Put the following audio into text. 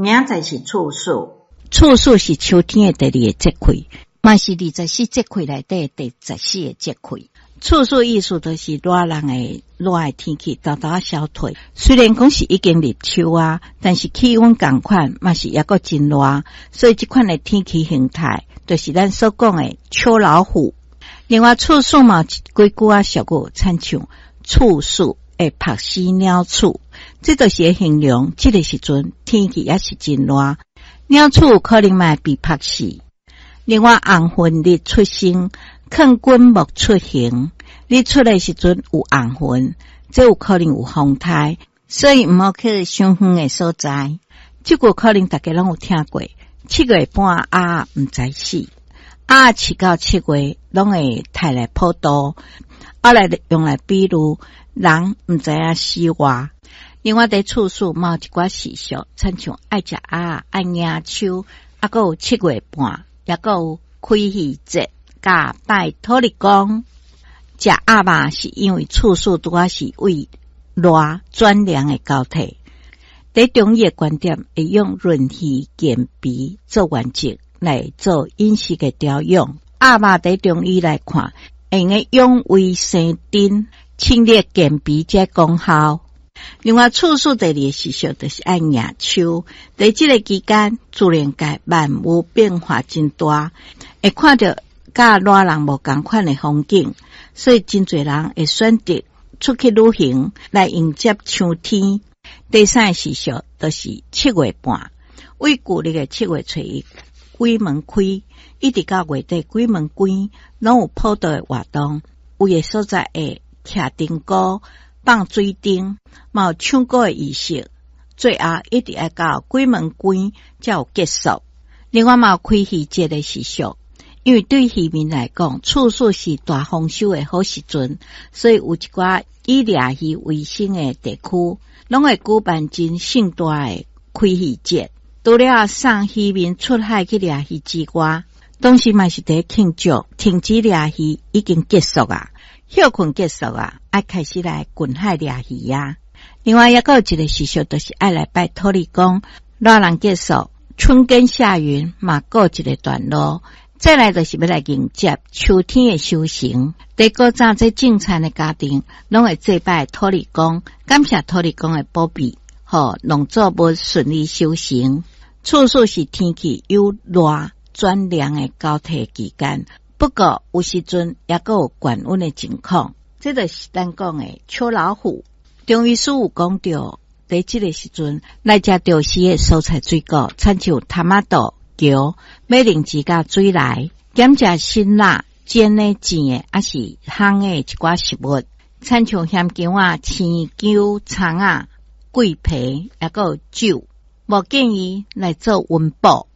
明仔載是處暑。處暑是秋天的第二個節氣，嘛是24節氣內底第14個節氣。處暑意思就是熱人的熱的天氣，沓沓仔消退。雖然講是已經入秋啊，但是氣溫仝款嘛是猶閣真熱，所以這款的天氣形態，就是咱所講的秋老虎。另外，處暑嘛有幾句仔俗語，親像處暑會曝死鳥鼠，這就是會形容這個時陣天氣也是真熱，鳥鼠有可能嘛會被曝死。另外，紅雲日出生，勸君莫出行。日出的時陣有紅雲，這有可能有風颱，所以毋好去傷遠的所在。這句可能大家攏有聽過，7月半鴨毋知死，鴨飼到七月攏會刣來普渡，啊來用來比喻人毋知影死活。另外，佇處暑嘛有一寡習俗，親像愛食鴨、愛迎秋，啊，閣有七月半，抑閣有開魚節，佮拜土地公。食鴨肉是因為處暑拄仔是為熱轉涼的交替。佇中醫的觀點，會用潤肺健脾做原則來做飲食的調養。鴨肉佇中醫來看，會用得養胃生津、清熱健脾這功效。另外，處暑第二個習俗就是愛迎秋。佇這個期間，自然界萬物變化真大，會看著佮熱人無仝款的風景，所以真濟人會選擇出去旅行來迎接秋天。第三個習俗就是七月半，為舊曆的7月初1鬼門開，一直到月底鬼門關，攏有普渡的活動，有的所在會徛燈菇、放水燈，嘛有唱歌的儀式，最後一直愛到鬼門關才有結束。另外嘛有開魚節的習俗，因為對漁民來講，處暑是大豐收的好時陣，所以有一寡以獵魚為生的地區，攏會舉辦真盛大的開魚節。除了送漁民出海去獵魚之外，同時嘛是佇慶祝停止獵魚已經結束啊，歇睏結束啊，愛開始來近海獵魚啊。另外，猶閣有一個習俗，就是愛來拜土地公。熱人結束，春耕夏耘嘛告一個段落。再來就是欲來迎接秋天的收成。佇古早這種田的家庭，攏會祭拜土地公，感謝土地公的保庇，予農作物順利收成。處暑是天氣由熱轉涼的交替期間，不過有時陣猶閣有懸溫的情況，這就是咱講的秋老虎。中醫師有講著，佇這個時陣來食著時的蔬菜水果，親像茼仔豆、蕎、馬鈴薯佮水梨，減食辛辣、煎的、煎的，抑是烘的一寡食物，親像鹹薑仔、青薑、蔥仔、桂皮，猶閣有酒，無建議來做溫補。